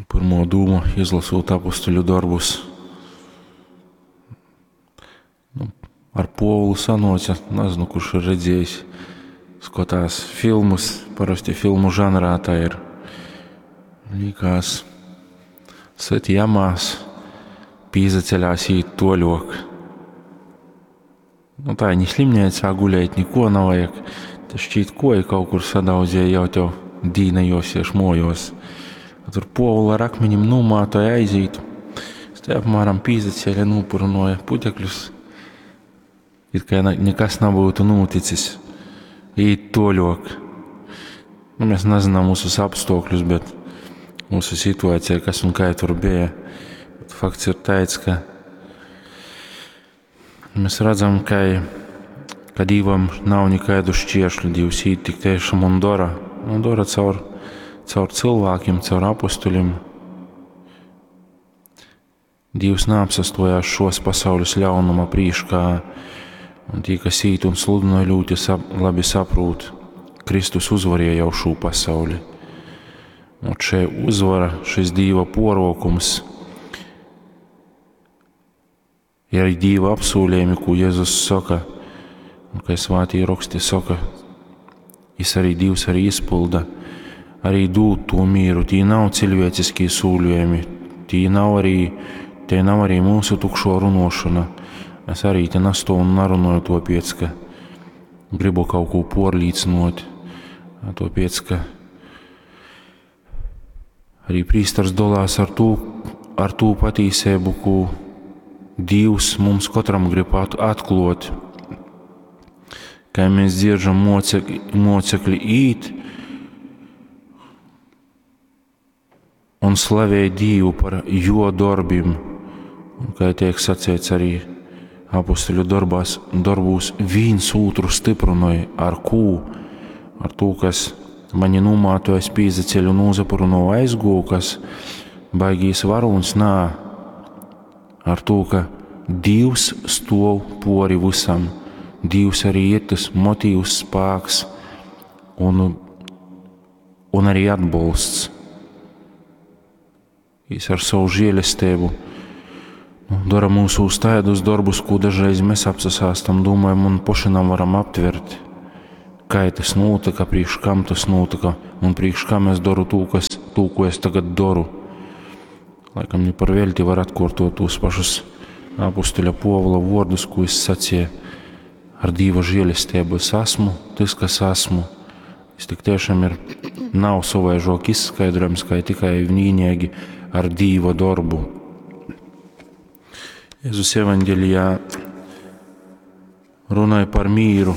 Pyrmuo dūma, izlosūt apustuļu dorbus, nu, ar Puovulu sanuoca, nazynu, kurš ir redziejs, skotās filmus, parosti filmu žanrā tā ir. Līkās, syt jamās, pīzaceļās īt tuoļuok. Nu, tā ni slimneicā gulēt, nikuo navajag. Te šķīt koju kaut kur sadaudzēja, jau tev dīna juosiež muojuos. A tur Puovulu ar akmenim nūmātoja aizīt. Es te apmēram pīzacēle, nūpurynuoja putekļus. It kai nekas nabūtu nūticis. Īt tuoļuok. Nu, mēs nezinām mūsu apstākļus, bet mūsu situācija, kas un kā tur bija. Bet fakts ir tāds, ka mēs redzam, ka, ka Dīvam nav nekādu šķēršļu. Dievs īt tik tiešām un dara. Un dara caur, caur cilvēkiem, caur apustuļiem. Dievs neapsastojās šos pasaules ļaunuma prīškā, un tie, kas īt un sludināja, ļoti sap, labi saprūt, Kristus uzvarēja jau šo pasauli. Un šī uzvara, šis Dieva porokums, ir arī Dieva apsūlījumi, ko Jēzus saka, un kā svātī raksti saka, jis arī Dievs arī izpilda, arī dūt to mīru. Tī nav cilvēciskie sūļojumi, tī nav arī, te nav arī mūsu tukšo runošana. Es arī te nastovu un narunoju to piec, ka gribu kaut ko porlīdzinot, to piec, ka arī prīsters dolās ar tū, ar tū patīsību, ko Dievs mums katram grib atklot. Kā mēs dzieržam mocekļi, mocekļi īt un slavē Dievu par jo darbim, un kā tiek sacīts arī apustuļu darbās, darbūs, viens otru stiprinoja ar kū, ar to, kas mani numātojas pīzaceļu un uzapuruno aizgū, kas baigīs varūns nā, ar to, ka Dievs stov pori visam. Dievs arī ir tas motīvs, spēks un, un arī atbalsts. Jis ar savu žēlestību nu, dara mūsu uz tādus darbus, ko dažreiz mēs apsasāstam, domājam un paši varam aptvert. Kā tas notika, priekš kam tas notika un priekš kam es daru to, kas, to, ko es tagad daru. Laikam ne par velti var atkārtot tos pašus apustuļa Povila vārdus, ko es sacīju. Ar Dieva žēlestību es esmu tas, kas esmu. Es tik tiešām ir nav savaižok izskaidrojams, kā tikai vienīgi ar Dieva darbu. Jēzus evaņģēlijā runāja par mīru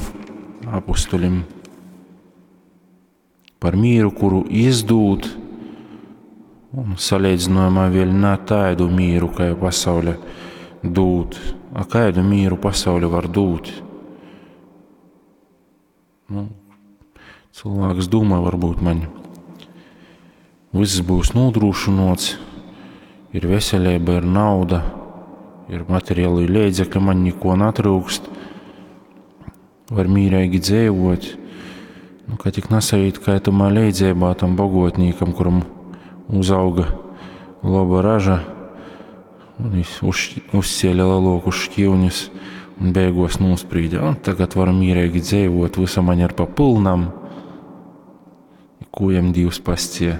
apustuļim, par mīru, kuru izdūt, un salīdzinājumā vēl nav tādu mīru, kā pasaule dūt. A kādu mīru pasaule var dūt? Nu, cilvēks domā, varbūt man viss būs nodrošināts, ir veselība, ir nauda, ir materiāli līdzekļi, man neko netrūkst, var mīrīgi dzīvot. Nu, ka tik nesajūt, kā tamā leidzībā tam bagotnīkam, kuram uzauga laba raža, un viņš uz, uzcēla lielākus šķīvņus un beigās nosprīda. Un tagad varu mierīgi dzīvot, visa man ir pa pilnam. Ko jam Dievs pascie?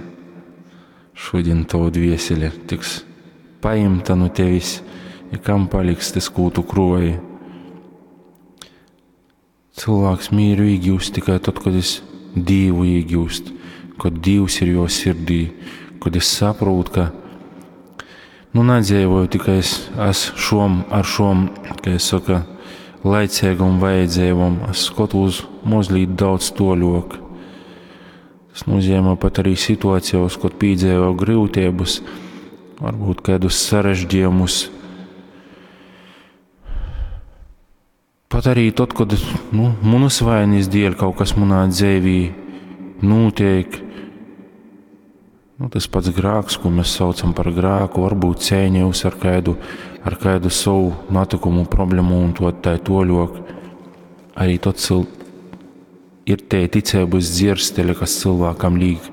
Šodien tavu dvieseli tiks paimta no tevis, ja kam paliks tas, ko tu kroji. Cilvēks mieru iegūst tikai tad, kad es Dievu iegūst, kad Dievs ir jo sirdī, kad es saprotu, ka nu, nedzīvoju tikai es, es šom, ar šom, kā es saku, laicīgam vajadzībām, es skatos mazliet daudz toļok. Tas nozīmē pat arī situācijos, kad piedzīvo grūtības, varbūt kādus sarežģījumus. Pat arī tad, kad nu, manas vainas dēļ kaut kas manā dzīvī notiek, nu, tas pats grēks, ko mēs saucam par grēku, varbūt cēņos ar kādu, ar kādu savu notikumu, problēmu un to tā toļok. Arī tad cil, ir te ticības dzirstele, kas cilvēkam līk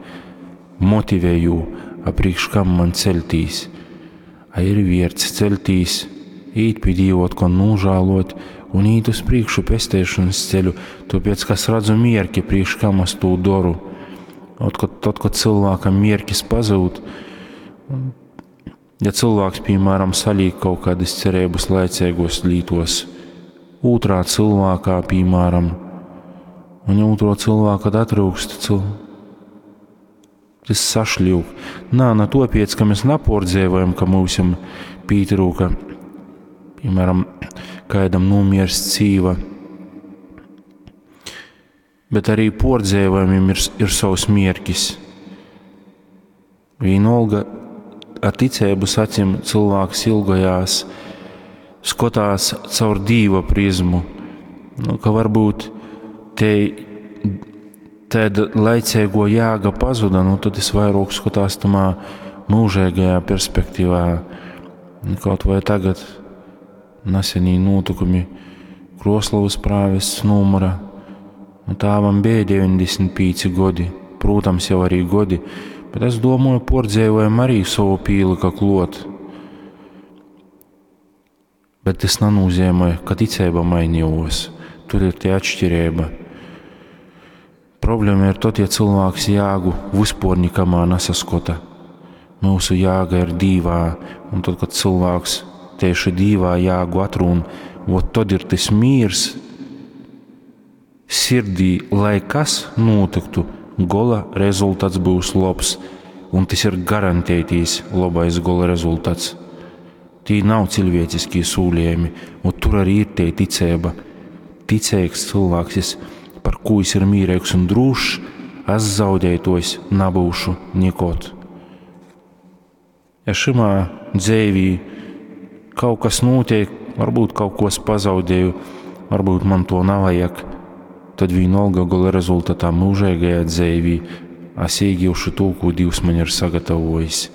motivē jū A prīkš kam man ceļtīs? A ir vierts ceļtīs, īt pi Dīva otkon nūžālot un īt uz prīkšu pesteišanas ceļu, tōpēc, ka es radzu mierki, prīkš kam es tū doru. Otkon, tad, kad cilvēkam mierkis pazūd, ja cilvēks, piemēram, salīk kaut kādas cerības laicīgos lītos, otrā cilvēkā, piemēram, un ja otro cilvēku atrūkst, cil... tas sašļūk. Nā, na topiec, ka mēs napordzēvojam, ka mūsim pītrūka, piemēram, kādam nomierst cīva, bet arī pordzēvojumiem ir, ir savs mierkis. Vienalga ar ticības acīm cilvēks ilgojās, skatās caur dīva prizmu, nu, ka varbūt te tāda laicīgo jēga pazuda, nu, tad es vairāk skatās tamā mūžīgajā perspektīvā. Nu, kaut vai tagad nesenī notikumi Kroslovas prāvests numura. Nu, tāvam bija 95 gadi, protams, jau arī gadi, bet es domāju, pordzēvojam arī savu pīlika klot. Bet tas nenozīmē, ka ticība mainījos. Tur ir tie atšķirība. Problēma ir tad, ja cilvēks jāgu vispār nikamā nesaskata. Mūsu jāga ir dīvā, un tad, kad cilvēks tieši dīvā jāgu atrūn, vot tad ir tas mīrs sirdī, lai kas notiktu, gola rezultāts būs labs, un tas ir garantētīs labais gola rezultāts. Tī nav cilvēciskie sūlījumi, un tur arī ir tie ticība. Ticīgs cilvēks, es, par ko es ir mīrīgs un drošs, es zaudētojs nebūšu nekot. Ja šimā dzēvī kaut kas notiek, varbūt kaut ko es pazaudēju, varbūt man to nevajag, tad vienalga gala rezultātā mūžīgajā dzēvī es iegūšu to, ko Dievs man ir sagatavojis.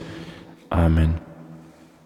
Āmen.